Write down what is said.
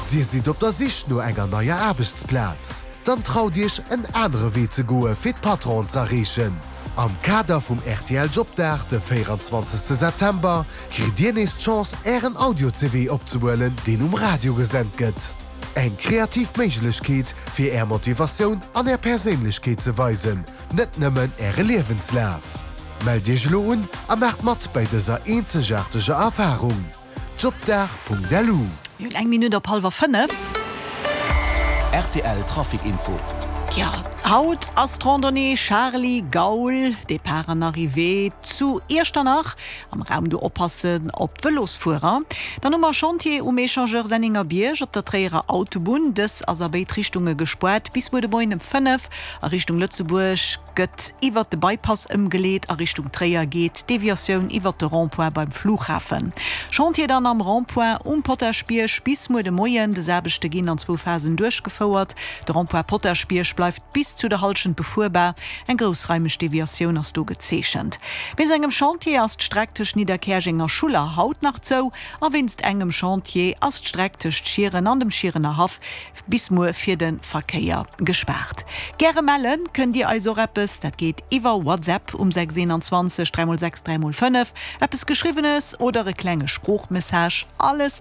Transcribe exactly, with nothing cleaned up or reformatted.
Dir sidd op der Sich no enger neier Aarbechtsplaz? Dann traut Iech en anere Wee ze goe fir d'Patronen ze erreechen. Am Kader vum R T L Jobdag de véierenzwanzegste September kritt Dir nees d'Chance Ären Audio-C V opzehuelen, deen um Radio gesent gëtt. Eng kreativ Méiglechkeet fir Är Motivatioun an Är Perséinlechkeet ze weisen, net nëmmen Äre Liewenslaf. Mellt Iech elo un a maacht mat bei dëser eenzegaarteger Erfarung. Jobdag Punkt L U. Mir hunn eng Minutt op hallwer fënnef. R T L Trafic Info. Ja, haut ass d'Randonnée Charly Gaul, Depart an Arrivée zu Iechternach. Am Raum do oppassen op d'Vëlosfuerer. Dann hu mer Chantier um Echangeur Sennengerbierg op der Tréierer Autobunn. Dës ass a béid Richtunge gespaart bis muer de Moien ëm fënnef. A Richtung Lëtzebuerg gëtt iwwer de Bypass ëmgeleet, a Richtung Tréier geet d'Deviatioun iwwer de Rond-point beim Flughafen. Chantier dann am Rond-point um Potaschbierg bis muer de Moien. Dës Aarbechte ginn an zwou Phasen duerchgefouert. De Rond-point Potaschbierg bleift bis zu der Hallschent befuerbar. Eng groussraimeg Deviatioun ass do gezeechent. Wéinst engem Chantier ass d'Streck tëscht Nidderkäerjeng a Schuller haut nach zou a wéinst engem Chantier ass d'Streck tëscht Schieren an dem Schierener Haff bis muer fir de Verkéier gespaart. Gäre melle kënnt Dir eis och eppes, dat geet iwwer WhatsApp um sechs einundzwanzeg dräi mol sechs dräi mol fënnef, eppes Geschriwwenes oder e klenge Sproochmessage, alles